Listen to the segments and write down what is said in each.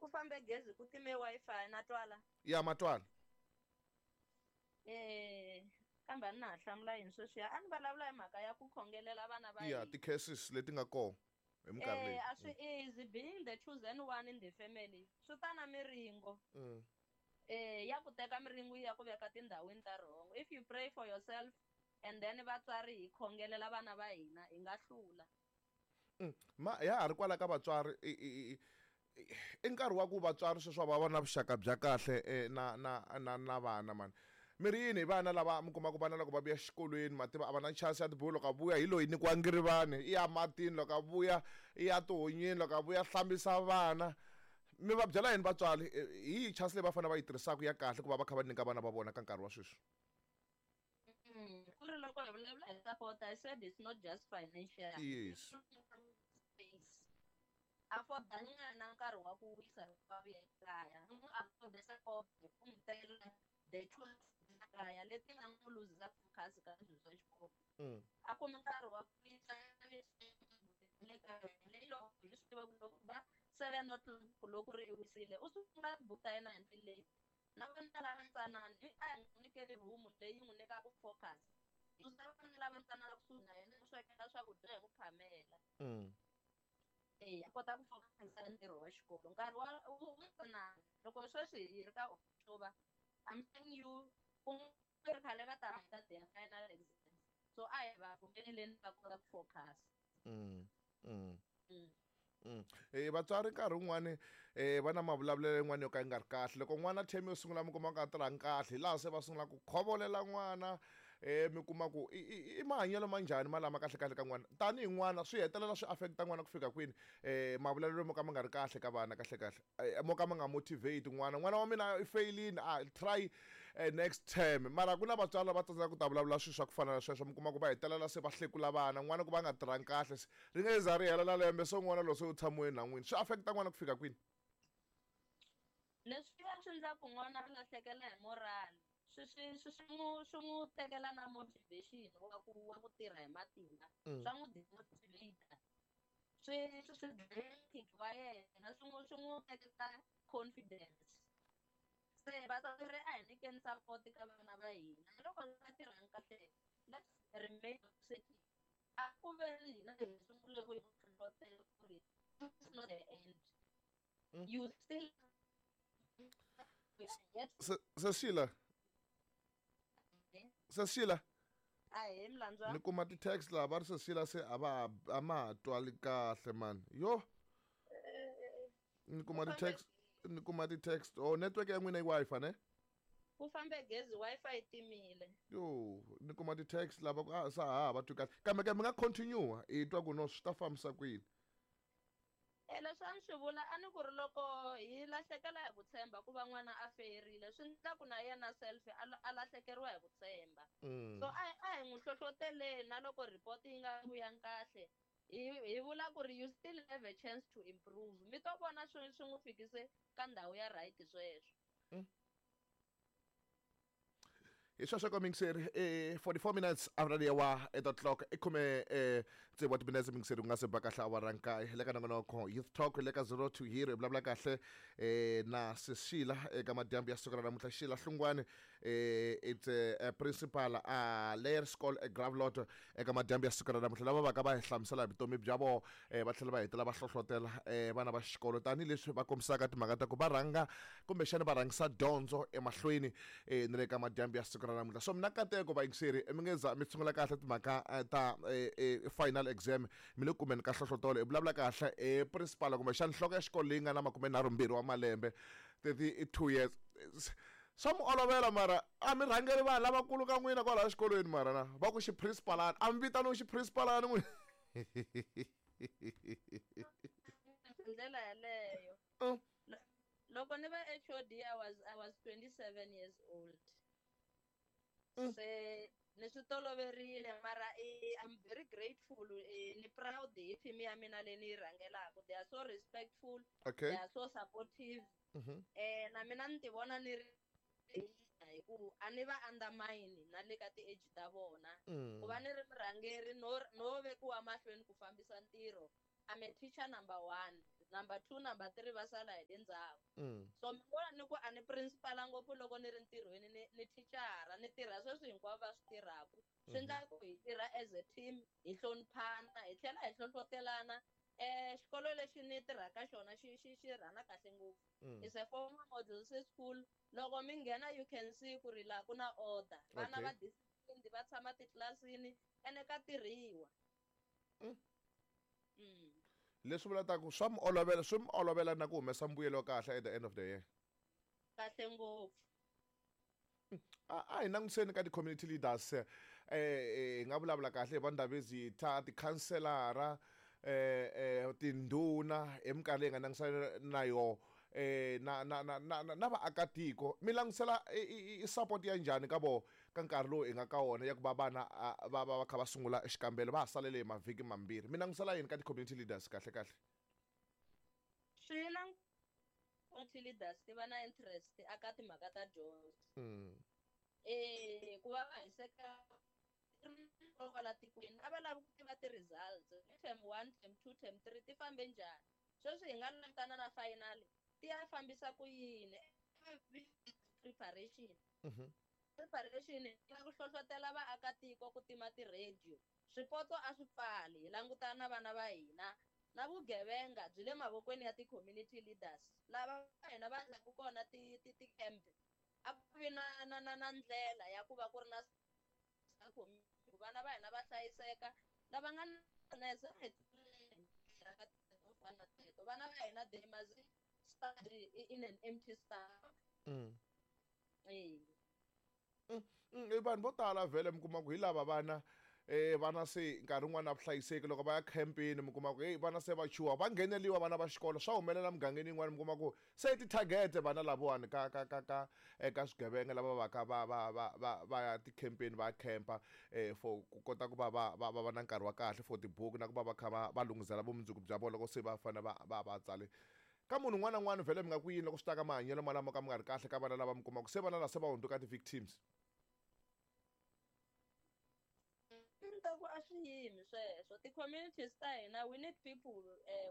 Ku fambe gezi ku time Wi-Fi na twala. Ya matwala. Kambe a ni na ha hlamula yini sweswiya, a ni vulavula hi mhaka ya ku khongelela vana va ya hina. Ti-cases leti nga kona hi minkarhi leyi. A swi easy being the chosen one in the family, swi ta na miringo. Ya ku teka miringo ya ku veka tindhawini ta wrong. If you pray for yourself and then vatswari hi khongelela vana va hina, hi nga hlula. Ma ya ha ri kwala ka vatswari, i nkarhi wa ku vatswari sweswi va va na vuxaka bya kahle na vana mani. Mi ri yini hi vana lava mi kuma ku vana loko va vuya xikolweni, ma tiva a va na chance ya tibuku, loko a vuya hi loyi nyikiwa ngirivani, i ya matini, loko a vuya i ya tihonyini, loko a vuya hlambisa vana. Mi va byela yini vatswari hi yihi chance leyi va fanele va yi tirhisaka ya kahle ku va va kha va nyika vana va vona ka nkarhi wa sweswi? Ku ri loko hi vulavula hi support, I said it's not just financial. Yes. Afforda n'wana nkarhi wa ku wisa loko va vuya ekaya. N'wi afforda support hi ku n'wi tela the tools kaya leti nga n'wi luzisa focus ka swilo swa xikolo. A kumi nkarhi wa ku wisa le kaya, leyi loko hi swi tiva ku loko va 7 o'clock loko ri wisile, u sungula tibuku ta yena hi ndlela leyi. Na vana lava ntsanana, i a hi n'wi nyikeli room leyi n'wi nyikaka focus. Susa vana lava ntsanana kusuhi na yena, u swekela swakudya hi ku phamela. A kota ku focus ntirho wa xikolo. Nkarhi wa wu ntsanana, loko sweswi hi ri ka October, I'm telling you, ku ri khale va ta heta their final exams. So a hi va pfumeleleni va kota ku focus. Vatswari nkarhi wun'wani va na mavulavulelo yin'wana yo ka yi nga ri kahle. Loko n'wana term yo sungula mi kuma ku a tirhangi kahle, hi laha se va sungula ku khovolela n'wana, mi kuma ku i mahanyelo ma njhani ma lama kahle kahle ka n'wana. Tanihi n'wana swi hetelela swi affect-a n'wana ku fika kwini, mavulavulelo mo ka ma nga ri kahle ka vana kahle kahle, mo ka ma nga motivate n'wana. N'wana wa mina i fail-ini, a try next term. Mara ku na vatswari lava tsandzekaka ku ta vulavula swilo swa ku fana na sweswo, mi kuma ku va hetelela se va hlekula vana, n'wana ku va nga tirhangi kahle, se ri nge za ri hela na lembe se n'wana loyi se u tshamiwe nhan'wini. Swi affect-a n'wana ku fika kwini? Leswi va swi endla ku n'wana a lahlekela hi moral, swi n'wi tekela na motivation wa ku tirha hi matimba. Swa n'wi demotivate. Swi dlaya wa yena, swi n'wi tekela confidence. Se vatswari a hi nyikeni support ka vana va hina. Loko va tirhangi kahle, let's remain positive. A ku ve ni hina hi sungule ku hi hlohlotela ku ri it's not the end. You still Cecilia. Cecilia. Ahee, Mlandzwa. Ni kuma ti-text laha va ri Cecilia se a va a ma ha twali kahle man. Yo. Ni kuma ti-text, ni kuma ti-text. Oh, network ya n'wina i Wi-Fi ne? Ku fambe gezi, Wi-Fi yi timile. Yo, ni kuma ti-text lava ku, sa ha va twi kahle. Kambe ke mi nga continue, hi twa ku no swi ta fambisa ku yini. Leswi a ni swi vula, a ni ku ri loko hi lahlekela hi ku tshemba ku va n'wana a feyerile, swi endla ku na yena self a lahlekeriwa hi ku tshemba. So a hi n'wi hlohloteleni na loko report yi nga vuyangi kahle, hi vula ku ri you still have a chance to improve. Mi to vona swi n'wi fikise ka ndhawu ya right sweswo. Hi sweswo ka mingiseri, 44 minutes after the hour 8 o'clock, i khume, tsevu wa timinetse mingiseri ku nga se ba kahle awara nkaye. Hi le ka nongonoko Youth Talk, hi le ka 0 to Hero, hi vulavula kahle, na Sisila eka madyambu ya siku ra namuntlha. Sheila Hlungwani, it's a principal a Laerskool e Gravelotte eka madyambu ya siku ra namuntlha, lava va ka va hi hlamusela hi vutomi bya vona, va tlhela va hetelela va hlohlotela, vana va xikolo tanihileswi va kombisaka timhaka ta ku va rhanga kumbexana va rhangisa dyondzo emahlweni, ni le ka madyambu ya siku ra namuntlha. So mina nkateko vayingiseri, mi nge za mi sungula kahle timhaka ta, final exam, mi le kumeni ka hlohlotelo. Hi vulavula kahle, principal kumbexana nhloko ya xikolo leyi nga na makumenharhumbirhi wa malembe, 32 years. Swa mi olovela mara a mi rhangeri vanhu lavakulu ka n'wina kwalaha xikolweni mara na va ku xiprincipalani, a mi vitaniwi xiprincipalani n'wina. Ndlela yaleyo. Loko ni va HOD, I was 27 years old. Se ni swi toloverile mara, I'm very grateful, ni proud hi team ya mina leyi ni yi rhangelaka. They are so respectful. They are so supportive. Na mina ni ti vona ni ri hi ku a ni va undermine na le ka ti-age ta vona. Ku va ni ri murhangeri no vekiwa mahlweni ku fambisa ntirho. I'm a teacher number one, number two, number three va sala hi le ndzhaku. So mi vona ni ku a ni principal ngopfu loko ni ri ntirhweni, ni thicara, ni tirha sweswi hinkwavo va swi tirhaka. Swi endla ku hi tirha as a team, hi hloniphana, hi tlhela hi hlohlotelana. Xikolo lexi ni tirhaka xona xi rhana kahle ngopfu. It's a former model C school. Loko mi nghena you can see ku ri laha ku na order. Vana va disciplined, va tshama titlilasini ene ka tirhiwa. Leswi vulaka ku swa mi olovela, swi mi olovela na ku humesa mbuyelo wa kahle at the end of the year. Kahle ngopfu. A hi langutiseni ka ti-community leaders, hi nga vulavula kahle hi va Ndabezitha, tikhanselara, tindhuna hi minkarhi leyi nga langutisana na yoho, na vaakatiko. Mi langutisela i support ya njhani ka voho ka nkarhi lowu hi nga ka wona ya ku va vana va va va kha va sungula xikambelo va ha salele hi mavhiki mambirhi? Mi langutisela yini ka ti-community leaders kahle kahle? Swi na community leaders ti va na interest aka timhaka ta dyondzo. Ku va va hiseka kwala tikweni, a va lavi ku tiva ti-results term 1, term 2, term 3 ti fambe njhani. Sweswi hi nga langutana na final ti ya fambisa ku yini? Preparation. Preparation ya ku hlohlotela vaakatiko ku tima ti-radio. Swipotso a swi pfali, hi langutana na vana va hina. Na vugevenga byi le mavokweni ya ti-community leaders lava va hina va endlaku kona ti-camp. A ku vi na ndlela ya ku va ku ri na ku vana va hina va hlayiseka, lava nga na vana va hina they must study in an empty stomach. I vanhu vo tala vhele mi kuma ku hi lava vana, vana se nkarhi wun'wani a va hlayiseki loko va ya campini, mi kuma ku hey vana se va chuha, va ngheneliwa vana va xikolo, swa humelela mugangeni yin'wani, mi kuma ku se ti-target vana lavawani ka eka swigevenga lava va ka va va va va va ya ti-campini, va ya campa, for ku kota ku va va va va va na nkarhi wa kahle for tibuku na ku va va kha va va lunghisela vumundzuku bya vona loko se va fanele va va va tsale. Ka munhu un'wana na un'wana vhele mi nga ku yini loko swi ta ka mahanyelo malamo ka mi nga ri kahle ka vana lava mi kumaka se vana lava se va hundzuka ti-victims? Ta ku a swi yimi sweswo. Ti-communities ta hina, we need people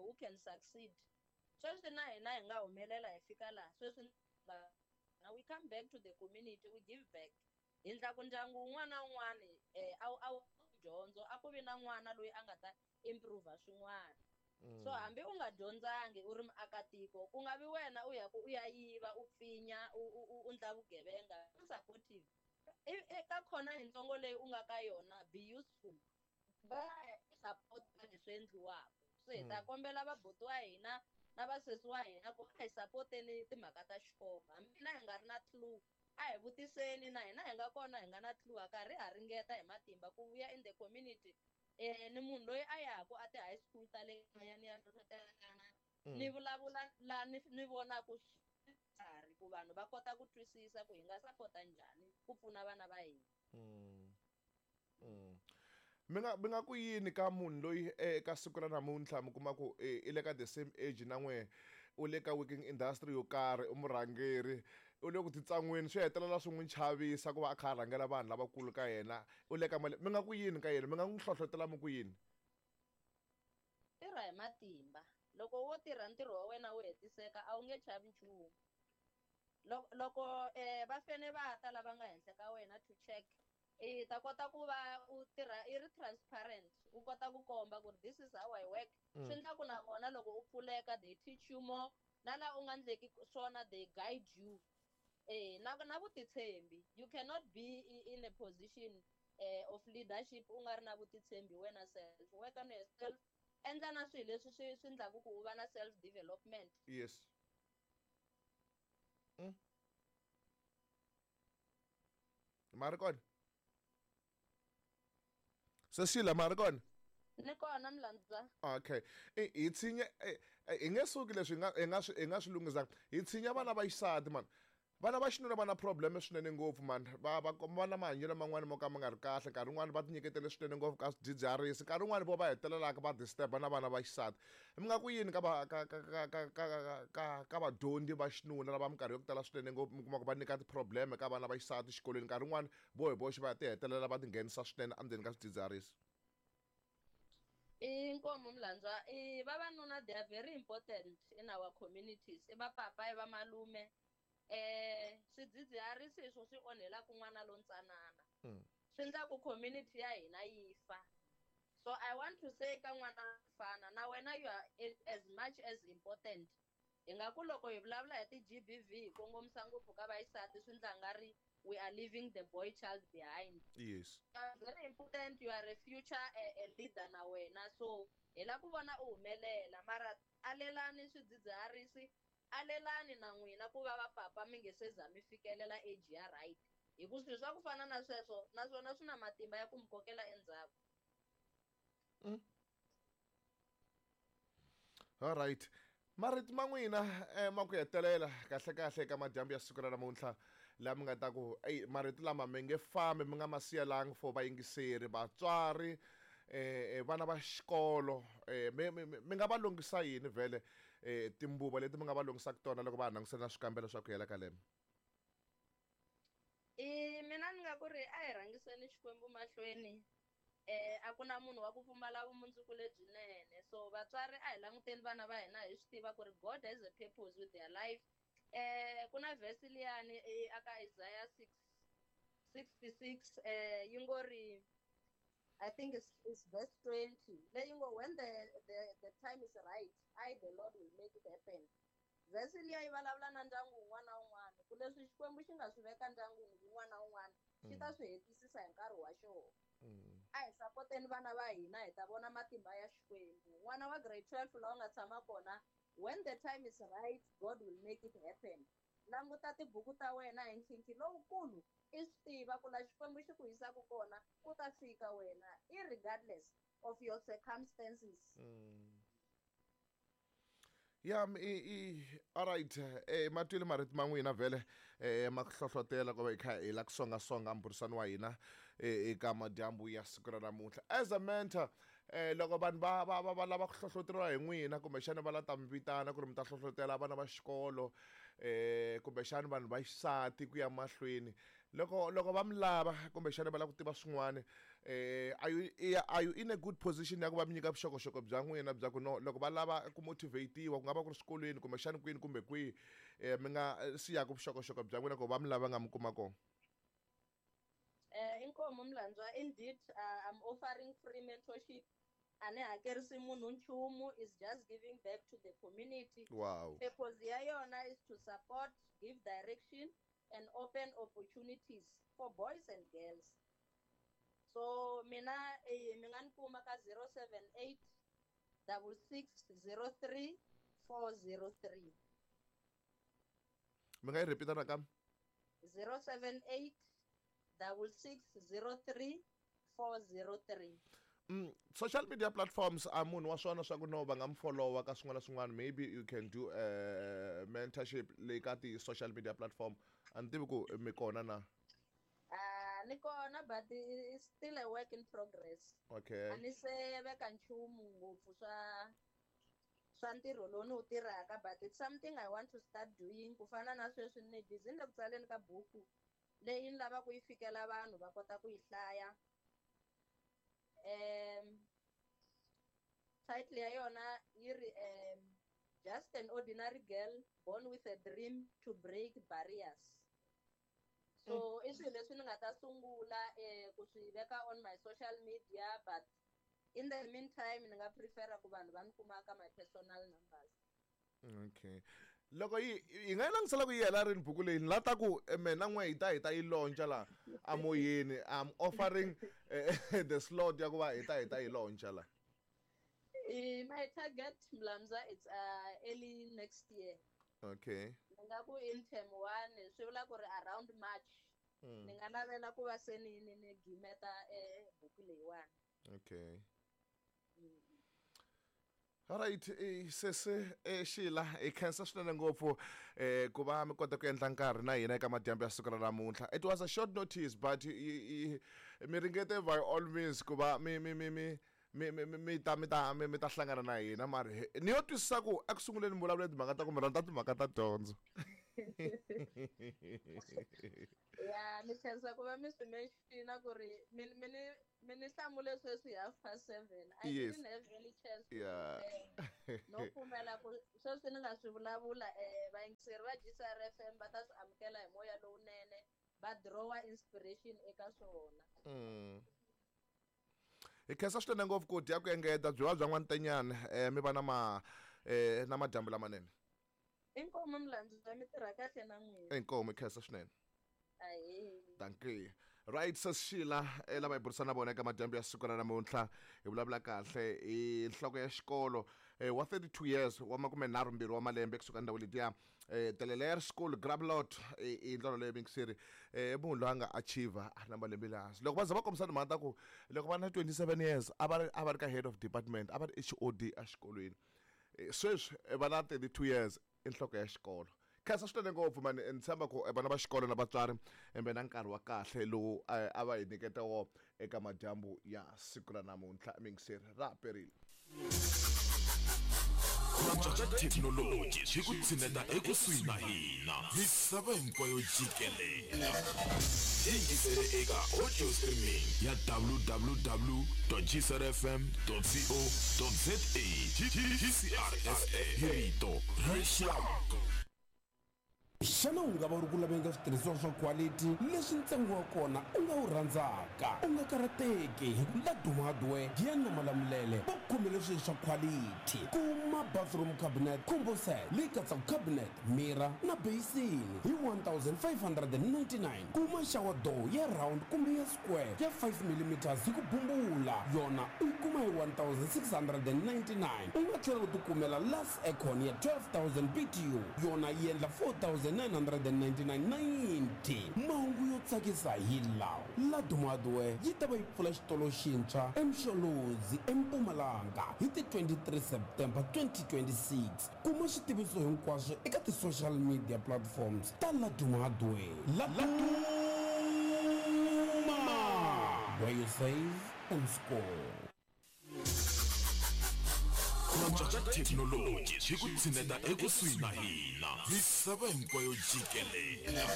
who can succeed. Sweswi na hina hi nga humelela hi fika laha sweswi, we come back to the community, we give back. Hi ndla ku ndyangu wun'wana na wun'wana, a wu dyondzo, a ku vi na n'wana loyi a nga ta improve swin'wana. So hambi u nga dyondzangi u ri muakatiko, ku nga vi wena u ya ku u ya yiva, u pfinya, u ndla vugevenga. Supportive eka khona hi ntsongo leyi u nga ka yona, be useful, va support leswi endliwaka. So hi ta kombela vabuti wa hina na vasesi wa hina ku a hi supporteni timhaka ta xikolo, hambi na hi nga ri na clue, a hi vutiseni, na hina hi nga kona hi nga na clue, a karhi ha ringeta hi matimba ku vuya in the community. Ni munhu loyi a yaku a ti-high school ta le kaya, ni ya hlohlotelana, ni vulavula la ni vonaku swikarhi ku vanhu va kota ku twisisa ku hi nga sapota njhani ku pfuna vana va hina. Mi nga ku yini ka munhu loyi eka siku ra namuntlha mi kuma ku i le ka the same age na n'we, u le ka working industry yo karhi, u murhangeri, u le ku titsan'wini, swi hetelela swi n'wi chavisa ku va a kha a rhangela vanhu lavakulu ka yena, u le ka mali, mi nga ku yini ka yena? Mi nga n'wi hlohlotela mi ku yini? Tirha hi matimba. Loko wo tirha ntirho wa wena wu hetiseka, a wu nge chavi nchumu. Loko va fene va ta lava nga henhla ka wena to check, i ta kota ku va u tirha i ri transparent, u kota ku komba ku ri this is how I work. Swi endla ku na vona loko u pfuleka they teach you more, na laha u nga endleki swona they guide you. Na vutitshembi, you cannot be in a position of leadership u nga ri na vutitshembi wena self. Work on yourself, endla na swilo leswi swi endlaku ku u va na self development. Yes. Ma ri kona? Cecilia, ma ri kona? Ni kona Mlandza. Okay. Hi tshinya, hi nge suki leswi hi nga swi lunghisaka. Hi tshinya vana va xisati man. Vana va xinuna va na problem swinene ngopfu man. Va na mahanyelo man'wani mo ka ma nga ri kahle, nkarhi wun'wani va tinyiketele swinene ngopfu ka swidzidziharisi, nkarhi wun'wani vo va hetelelaka va disturb na vana va xisati. Mi nga ku yini ka va ka ka ka ka ka ka ka vadyondzi va xinuna lava minkarhi yo tala swinene ngopfu mi kuma ku va nyika ti-problem ka vana va xisati xikolweni, nkarhi wun'wani vo hi voxe va ti hetelela va tinghenisa swinene endzeni ka swidzidziharisi? Inkomu Mlandzwa, i vavanuna, they are very important in our communities. I vapapa, i vamalume. Swidzidziharisi hi swo swi onhelaka n'wana lontsanana. Swi endla ku community ya hina yi fa. So I want to say ka n'wana mfana, na wena you are as much as important. Hi nga ku loko hi vulavula hi ti-GBV hi kongomisa ngopfu ka vaxisati, swi ndla nga ri we are leaving the boy child behind. You are very important, you are a future a leader na wena, so hi la ku vona u humelela. Mara alelani swidzidziharisi, alelani na n'wina ku va vapapa mi nge se za mi fikelela age ya right, hi ku swilo swa ku fana na sweswo naswona swi na matimba ya ku mi kokela endzhaku. All right, marito ma n'wina ma ku hetelela kahle kahle eka madyambu ya siku ra namuntlha, laha mi nga ta ku ey, marito lama mi nge fambi mi nga ma siyelangi for vayingiseri, vatswari, vana va xikolo, mi nga va lunghisa yini vhele, timbuva leti mi nga va lunghisaka tona loko va ha langutisana na swikambelo swa ku hela ka lembe? I mina ni nga ku ri a hi rhangiseni Xikwembu mahlweni. A ku na munhu wa ku pfumala vumundzuku lebyinene, so vatswari a hi languteni vana va hina, hi swi tiva ku ri God has a purpose with their life. Ku na verse liyani aka Isaiah 6:66, yi ngo ri, I think it's verse 20, leyi ngo, "When the time is right, I the Lord will make it happen." Verse liya yi vulavula na ndyangu wun'wana na wun'wana, ku leswi Xikwembu xi nga swi veka ndyangwini wun'wana na wun'wana, xi ta swi hetisisa hi nkarhi wa xona. A hi sapoteni vana va hina, hi ta vona matimba ya Xikwembu. N'wana wa grade 12 laha u nga tshama kona, when the time is right, God will make it happen. Languta tibuku ta wena hi nkhinkhi lowukulu, i swi tiva ku la Xikwembu xi ku yisaka kona ku ta fika wena, irregardless of your circumstances. Ya, i alright, matwile marito ma n'wina vhele, ma ku hlohlotela ku va hi kha hi la ku songasonga mbhurisano wa hina eka madyambu ya siku ra namuntlha. As a mentor, loko vanhu va lava ku hlohloteriwa hi n'wina, kumbexana va la ta mi vitana ku ri mi ta hlohlotela vana va xikolo, kumbexana vanhu va xisati ku ya mahlweni, loko va mi lava, kumbexana va lava ku tiva swin'wana, are you in a good position ya ku va mi nyika vuxokoxoko bya n'wina bya ku no loko va lava ku motivatiwa, ku nga va ku ri swikolweni, kumbexana kwini kumbe kwihi, mi nga siyaka vuxokoxoko bya n'wina ku va mi lava nga mi kuma kona? Inkomu Mlandzwa, indeed, I'm offering free mentorship. A ni hakerisi munhu nchumu, is just giving back to the community. Purpose ya yona is to support, give direction and open opportunities for boys and girls. So mina mi nga ni kuma ka 078 66 03 403. Mi nga yi repeat nakambe? 078 66 03 403. Social media platforms, a munhu wa swona swa ku no va nga mi followa ka swin'wana na swin'wana, maybe you can do mentorship leyi ka ti-social media platform, a ni tivi ku mi kona na? Ni kona, but it's still a work in progress. A ni se veka nchumu ngopfu swa ntirho lowu ni wu tirhaka, but it's something I want to start doing. Ku fana na sweswi ni busy ni le ku tsaleni ka buku leyi ni lavaka ku yi fikela vanhu va kota ku yi hlaya. Title ya yona yi ri "Just an Ordinary Girl Born with a Dream to Break Barriers". So i swilo leswi ni nga ta sungula ku swi veka on my social media, but in the meantime ni nga prefera ku vanhu va ni kuma ka my personal numbers. Okay, loko yi hi nga yi langutisela ku yi hela rini buku leyi, ni la ta ku mina n'we hi ta yi launcha laha amoyeni. I'm offering the slot ya ku va hi ta yi launcha la. My target, Mlamza, it's early next year. Ni nga ku in term one, swi vula ku ri around March, ni nga navela ku va se ni gimeta buku leyiwani. Okay. Alright, sesi Sheila, hi khensa swinene ngopfu ku va mi kota ku endla nkarhi na hina eka madyambu ya siku ra namuntlha. It was a short notice, but mi ringete by all means ku va mi ta hlangana na hina. Mara ni yo twisisa ku eku sunguleni mi vulavula timhaka ta ku mi rhandza timhaka ta dyondzo. Ya, ni khensa ku va mi swi mention ku ri mi ni hlamule sweswi 7:30. I didn't have any chance to prepare. No pfumela ku sweswi ni nga swi vulavula, vayingiseri va GCR FM va ta swi amukela hi moya lowunene, va draw-a inspiration eka swona. Hi khensa swinene ngopfu ku dya ku engeta byi va bya n'wantenyana, mi va na ma na madyambu lamanene. Inkomu milandzu, mi tirha kahle na n'wina. Inkomu, hi khensa swinene. Ahee. Dankie. Right, Sesi Sheila, lava hi burisana na vona eka madyambu ya siku ra namuntlha, hi vulavula kahle hi nhloko ya xikolo, wa 32 years, wa 32 wa malembe, kusuka ndhawu letiya, Teleler School Grablot, i ndlela leyo mingiseri, munhu loyi a nga achiever a ri na malembe le hansi. Loko va za va kombisa timhaka ta ku loko va na 27 years a va ri ka head of department, a va ri HOD exikolweni. Sweswi va na 32 years, i nhloko ya xikolo. Khensa swinene ngopfu mani, ni tshemba ku vana va xikolo na vatswari embe na nkarhi wa kahle lowu a va hi nyiketa wo eka madyambu ya siku ra namuntlha. Mingiseri ra perile. Ku antswa ka thekinoloji swi ku tshineta ekusuhi na hina misava hinkwayo jikelela. Yingisele eka audio streaming ya www.gcrfm.co.za. GCRFM, hi rito ra rixaka. Xana u nga va u ri ku laveni ka switirhisiwa swa quality leswi ntsengo wa kona u nga wu rhandzaka? U nga karhateki, hi ku Laduma Hardware Giyani na Malamulele va ku khomele swilo swa quality. Kuma bathroom cabinet combo set leyi katsaka cabinet, mirror na basin hi 1599. Kuma shower door ya round kumbe ya square ya 5 mm hi ku bumbula, yona u yi kuma hi 1699. U nga tlhela u tikumela Lux aircon ya 12,000 BTU, yona yi endla 4999.90. Mahungu yo tsakisa hi lawa: Laduma Hardware yi ta va yi pfula xitolo xintshwa eMsholozi, eMpumalanga, hi ti 23 September 2026. Kuma switiviso hinkwaswo eka ti-social media platforms ta Laduma Hardware. Laduma, where you save and score. Ku antswa ka thekinoloji swi ku tshineta ekusuhi na hina misava hinkwayo jikelela.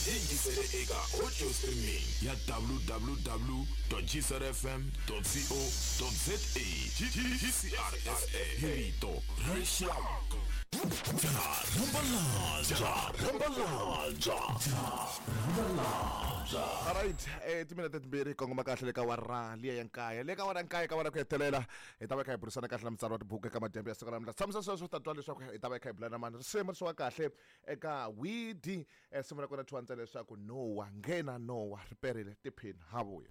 Yingisele eka audio streaming ya www.gcrfm.co.za. GCRFM, hi rito ra rixaka. Rambalanza, rambalanza, rambalanza. Alright, timinete 2 kongoma kahle le ka wara liya ya 9, le ka wara 9, ka wara ku hetelela hi ta va kha hi burisana kahle na mutsari wa tibuku eka madyambu ya siku ra namuntlha. Tshamisa sweswo, ta twa leswaku hi ta va hi kha hi bula na mani. Risimu ri wa kahle eka widi, simu ra kona thyiwa ntsena leswaku Nowa nghena Nowa riperile tiphini ha vuya.